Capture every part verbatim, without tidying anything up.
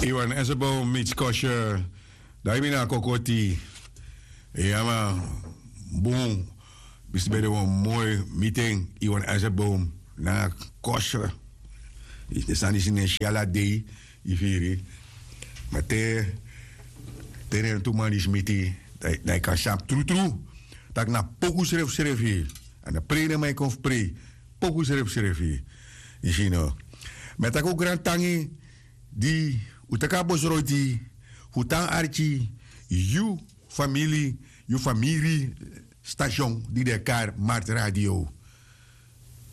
Iwan Esebom, mitskoshe. Daimina kokoti. Yama. Bun. Bisibede wan moi miten Iwan Esebom na koshe. Isi de sani sine siala dei. Ifiri. Mate. Tenen tu mani smiti. Dai kan sap trutru. Tak na poku sref srefi. Ana prene mai kon fu prei. Poku sref srefi. Isino. Metaku grantangi di utaka bosroti hutan arki yu famili yu famiri station di de kar mart radio.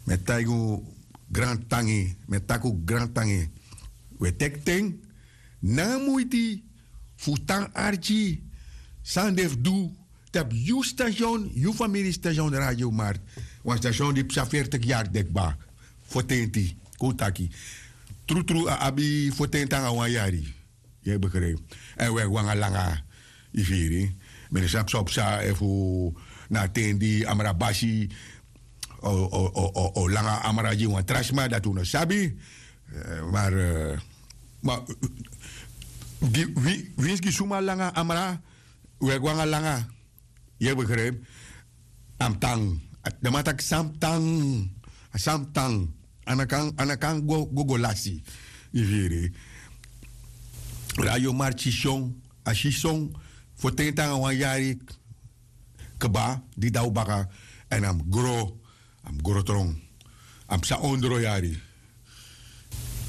Metaku grantangi metaku grantangi. We tekten na muiti fu tan arki san de fu du tapu yu station yu famiri station radio mart. Wan station di psa fertik yari dekba fotenti kon taki trutru a abi fotenti anga wan yari. Yu e begrijp. En we wanga langa yu firi. Mi no sabi san o psa efu na a ten di amra basi o langa amra gi wan tra sma dati un no sabi. Mar winsi gi suma langa amra we go anga langa. Yu e begrijp. A mus tan. Den man taki san mus tan. A san mus tan. A no kan go go lasi. Yu firi. Radio marki son a si son fotenti nanga wan yari kba di daw baka. Èn a mus gro a mus gro tron. A mus psa ondro yari.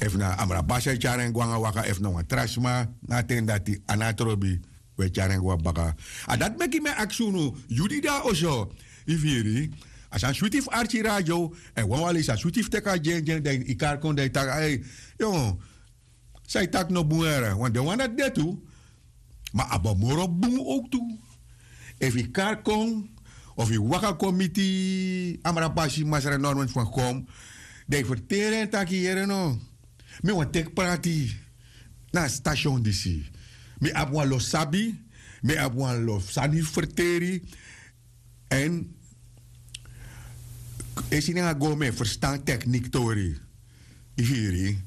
Efu na amra basi e tyari en go nanga waka efu na wan tra sma na a ten dati a no a trobi. We tyari en go a baka. A dati meki mi e aksi unu yu di de na oso. Yu firi. A san switi fu arki radio. Èn wanwan leisi a switi fu teki a dyendyen dan yu kari kon dan yu taki ai. Yo, san yu taki no bun yara wan den wan dati de tu. Ma a bo moro bun owktu. Efu yu kari kon of yu waka kon miti amra basi masra norman fu a kom, dan yu ferteri en taki yere no. Mi wani teki prati na a station disi. Mi abi wan lo sabi. Mi abi wan lo sani ferteri. Èn esi nanga go mi e ferstan teknik tori. Yu firi.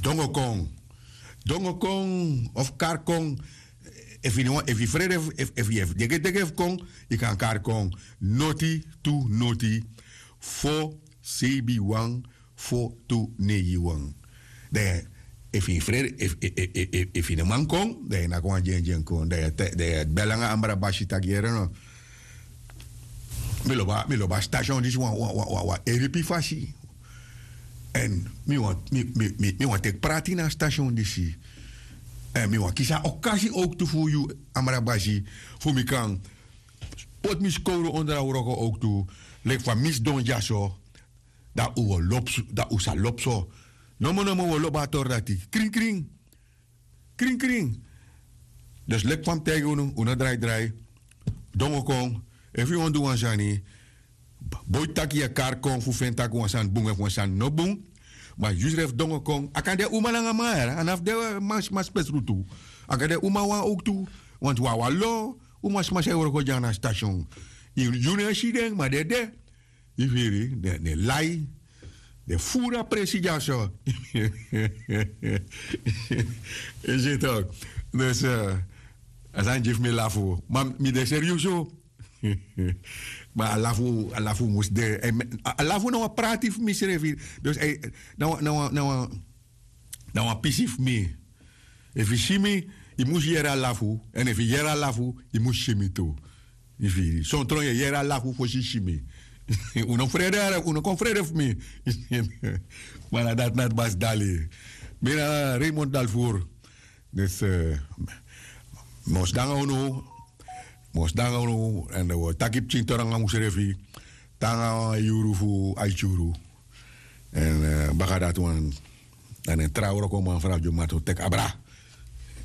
Dongo kon. Dongo kon of kari kon. Efu yu no wani efu yu frede efu yu e degedege fu kon, yu kan kari kon. Noti tu noti fo seibi wan fo tu neiwan. Dan efu yu frede efu yu no man kon dan yu naki wan dyendyen kon dan yu e bel nanga ambra basi taki yere no. Mi lobi a station disi wan wan wan wan wan eripi fasi. Èn mi wani mi mi mi wani teki prati na a station disi. Èn mi wani kisi a okasi owktu fu yu amra basi fu mi kan poti mi skowru ondro a wroko owktu. Leki fa mi sidon dyaso. Dan un o lobi dan un sa lobi so. Nomo nomo un o lobi a tori dati krin krin. Krin krin. Dus leki fa mi taigi unu un no drai drai. Dongo kon efu yu wani du wan sani. Boiti tak' yu e kari kon fu feni tak' wan sani bun efu wan sani no bun. Ma yu srefi dongo kon a kan de uma nanga man a no fu de man sma spesrutu. A kan de uma wan owktu. Wantu wan wan lo uma sma san e wroko dya na station. Yu no e si den ma den de. Yu firi den e lai. Den e furu a presi dyaso. Yu si tok. Dus a sani gi fu mi lafu ma mi de seriusu. Ma a lafu a lafu mus de. A lafu na wan prati fu mi srefi. Dus na wan na wan na wan pisi fu mi. Efu yu si mi yu mus yere a lafu. Èn efu yu yere a lafu yu mus si mi tu. Yu firi sontron yu e yere a lafu fosi yu si mi. Un no frede un no kon frede fu mi. Ma na dati na dbasi dali. Mi na raymond dalfur. Dus mi o sidon nanga unu. Mi o sidon nanga unu èn wi o taki pikin tori nanga usrefi. Te nanga wan yuru fu aiti yuru. Èn baka dati wan dan den tra wrokoman fu radio martin o teki abra.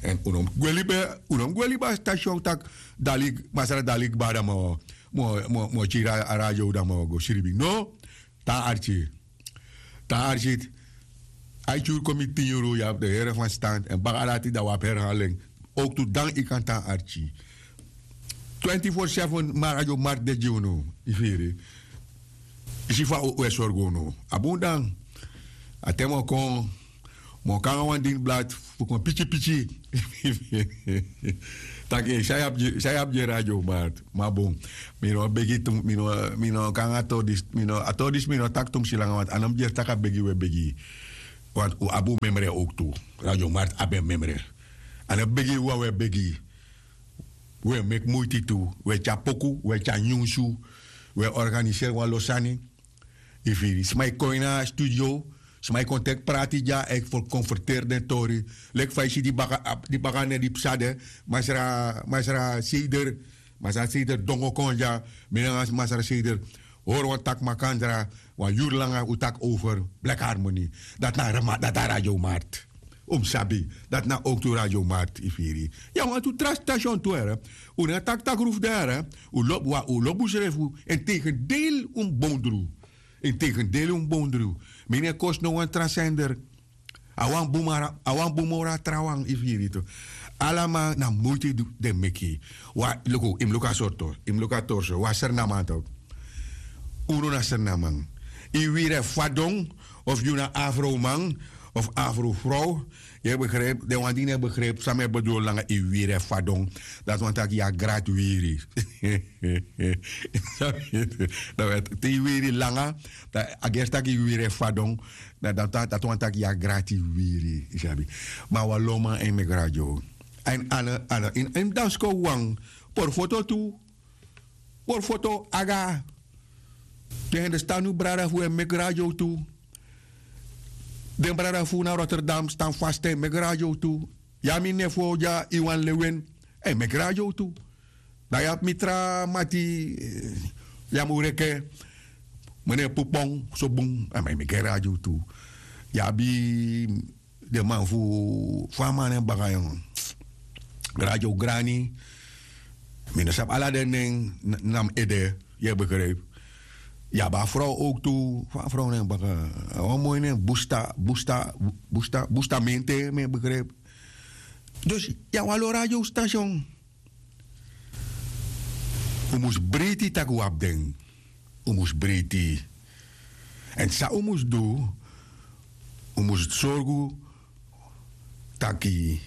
Èn un no mus gwe libi a station tak' dali masra dali kba dan mi o mi o kiri a radio dan mi o go sribi no. Tan arki. Tan arki. Aiti yuru kon miti tin yuru yu abi den here fan stand èn baka dati dan wi abi herhaling. Owktu dan yu kan tan arki. Twenti fo seven mari a yu o mari de gi unu. Yu firi. Yu si fa un e sorgu unu a bun dan. A ten mi o kon. Mi o kon nanga wan dini blad fu kon piki piki. Tak' san yu abi gi radio marti? Ma bun, mi no begi tu, mi no kon nanga a tori disi, mi no taki tu mi si langa wantu a no mus dyesi tak' a begi wi e begi yu. Wantu un abi un memre owktu. Radio marti abi en memre. A no begi yu wawan e begi yu. Wi e meki muiti tu. Wi e tyari poku, wi e tyari nyunsu, wi e organiseri wan lo sani. Yu firi? Sma e kon ini a studio, sma e kon teki prati dya, e kon ferteri den tori. Leki fa yu si di baka nen di psa de, masra seder, masra seder dongo kon dya. Mi nanga masra seder hori wan taki makandra, wan yuru langa un taki over bleki harmoni. Dati na a radio marti. Un mus sabi dati na owktu radio marti yu firi. Yu a wantu tra stasion tu here. Un no e taki tak' rufu de here. Un lobi un srefi. Integendeel un mus bondru. Integendeel un mus bondru. Mi no e kosi no wan tra sender. A wan bun moro a trawan yu firi tu. Ala man na muiti den meki. Luku yu mus luku a sortu, yu mus luku a torso wan sernaman tu. Unu na sernaman. Yu wiri e fadon, of yu na afroman of afrofrow. Yu e begripi den wan di no e begripi san mi e bedul nanga yu wiri e fadon. Dati wani tak' yu a grati wiri. Te yu wiri langa, a gersi tak' yu wiri e fadon. Dati wani tak' yu a grati wiri, yu sabi. Ma wan loman e meki radio. Èn ala ala ini dansko wan, pori foto tu. Pori foto aga. Den hende stan nu brada fu e meki radio tu. Den brada fu na rotterdam stan fasti e meki radio tu. Ya mi nefo dya iwan lewen, e meki radio tu. Dan yu abi mi tra mati, ya mu reke, mene pupon so bun, a man e meki radio tu. Yu abi den man fu fa a man nen baka yon, radio grani. Mi no sabi ala den nen. Na mi ede. Yu e begripi? Yu abi a frow owktu. Fa a frow nen baka? A wan moi nen busta busta busta busta mente mi e begripi. Dus yu abi wan lo radio stasion. Un mus breiti tak' un abi den. Un mus breiti. Èn san un mus du? Un mus sorgu taki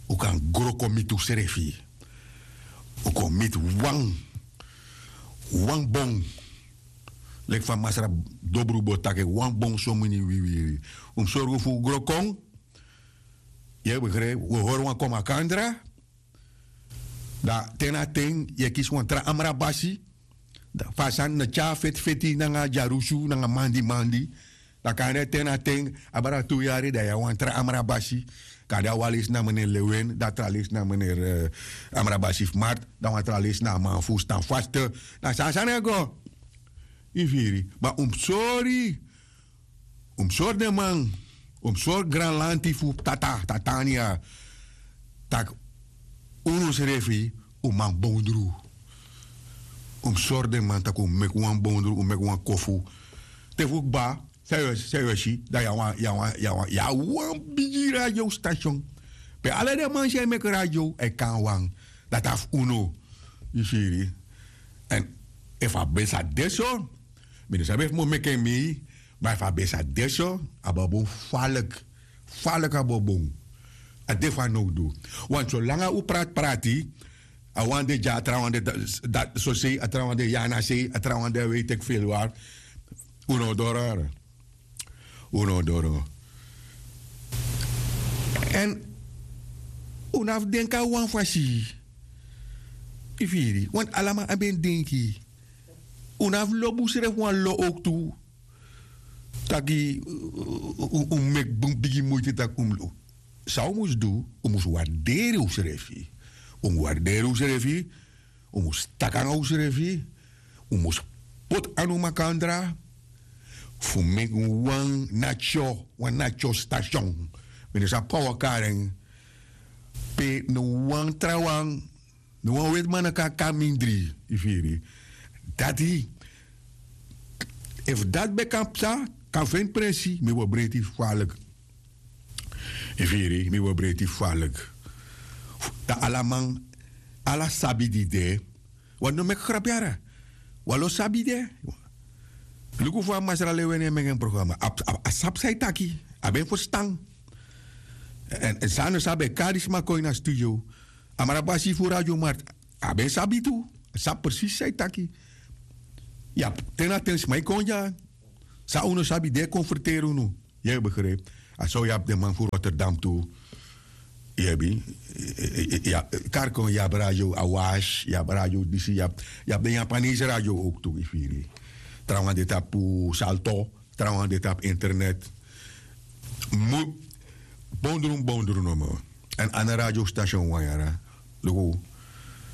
un kan gro kon miti unsrefi. Un kon miti wan wan bon. Leki fa masra dobru bo taki wan bon somini wiwiri. Un mus sorgu fu un gro kon. Yu e begripi? Un e hori wan kon makandra. Dan te na ten yu e kisi wan tra amra basi. Fa a sani no tyari fetifeti nanga dyarusu nanga mandimandi. Dan kande te na ten abra tu yari dan yu abi wan tra amra basi. Kande a wan lesi na meneer lewen dan a tra lesi na meneer amra basi fu mart. Dan wan tra lesi na a man fu stan faste. Dan san a sani e go? Yu firi? Ma un mus sori. Un mus sori den man. Un mus sori granlanti fu tata tata ania. Tak' unu srefi un man bondru. Un mus sori den man tak' un meki wan bondru un meki wan kofu. Te fu kba san yu e si dan yu a wan yu a wan bigi radio stasion. Pe ala den man san e meki radio e kon na wan. Dati na fu unu. Yu firi? Èn efu a ben sa de so, mi no sabi efu mi o meki en mei. Ma efu a ben sa de so, a bo bun. Faliki. Faliki a bo bun. A de fanowdu. Wantu solanga un prati prati a wan de dya a trawan de dati sosei a trawan de yana sei a trawan de a wei teki feli wari. Un no o doro. Un no o doro. Èn un no abi fu denki na wan fasi. Yu firi? Wantu ala man abi en denki. Un no abi fu lobi unsrefi wan lo owktu. Taki un meki bun bigi muiti taki un mus san un mus du? Un mus warderi unsrefi. Un mus warderi unsrefi. Un mus taki nanga unsrefi. Un mus poti anu makandra fu meki wan natyo wan natyo stasion. Mi no sabi fa wi o kari en. Pe no wan trawan no wan weti man no kan kon na mindri. Yu firi? Dati efu dati ben kan psa kan feni prensi mi bo breiti faliki. Yu firi? Mi bo breiti faliki. Dan ala man ala sabi di de. Wan no meki grapi yara. Wan lo sabi de. Luku fa masra lewene meki en programa a sabi san yu taki. A ben ferstan. Èn san a no sabi e kari sma kon ini a studio. A mara basi fu radio marti, a ben sabi tu. A sabi presisi san yu taki. Yu abi ten na ten sma e kon dya. San un no sabi den e konferteri unu. Yu e begripi? A so yu abi den man fu rotterdam tu. Yu abi, kari kon yu abi radio awash, yu abi radio disi, yu abi den japanese radio owk tu yu firi. Trawan de tapu salto, trawan de tapu internet. Mu bondru bondru nomo. Èn a no radio station wan yara. Luku,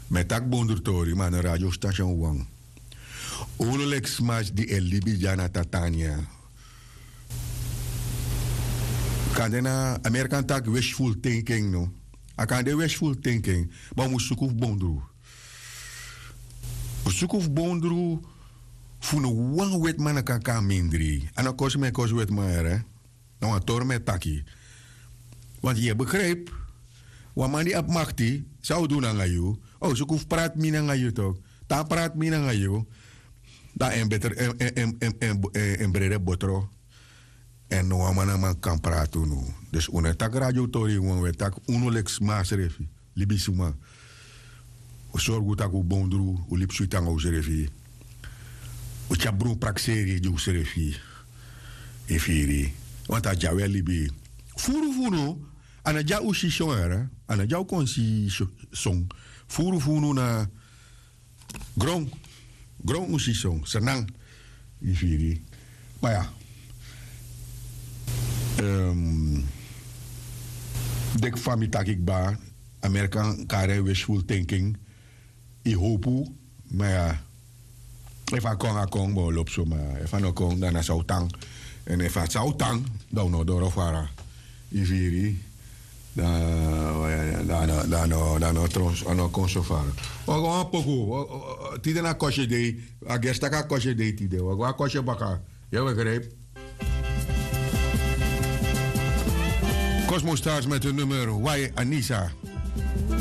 mi e taki bondru tori ma a no radio station wan. Unu leki sma di e libi dya na tatania. Kande na amerikan taki wishful thinking no? A kan de wishful thinking, ma un mus suku fu bondru. Un suku fu bondru. Fu no wan wetiman no kan kon na mindri. A no kosi mi e kosi wetiman yara. Na wan tori mi e taki. Want yu e begripi, wan man di abi makti, san o du nanga yu? O suku fu prati mi nanga yu tok. Tan prati mi nanga yu. Dan en beter en brede botro. Èn no wan man na man kan prati unu. Dus un no e taki radiotori wan un e taki unu leki sma srefi, libisma. Un sorgu tak' un bondru, un libi switi nanga unsrefi. Un tyari brun prakseri gi unsrefi. Yu firi? Want a dya un e libi. Furu fu unu, a no dya un si son yara. A no dya un kon si son. Furu fu unu na gron. Gron un si son, sernan. Yu firi? Ma ya, deki fa mi taki kba, amerikan kari en wishful thinking. Yu howpu. Ma ya, efu a kon a kon bo lobi so ma efu a no kon dan na san o tan. Èn efu a san o tan, dan un no doro fara. Yu firi? Dan a no kon so fara. Wi o go wan poku. Tide na kosye dei. A gersi tak' a kosye dei tide wi o go a kosye baka. Yu e begripi? Kosmo stars met hun nummer wai anisa.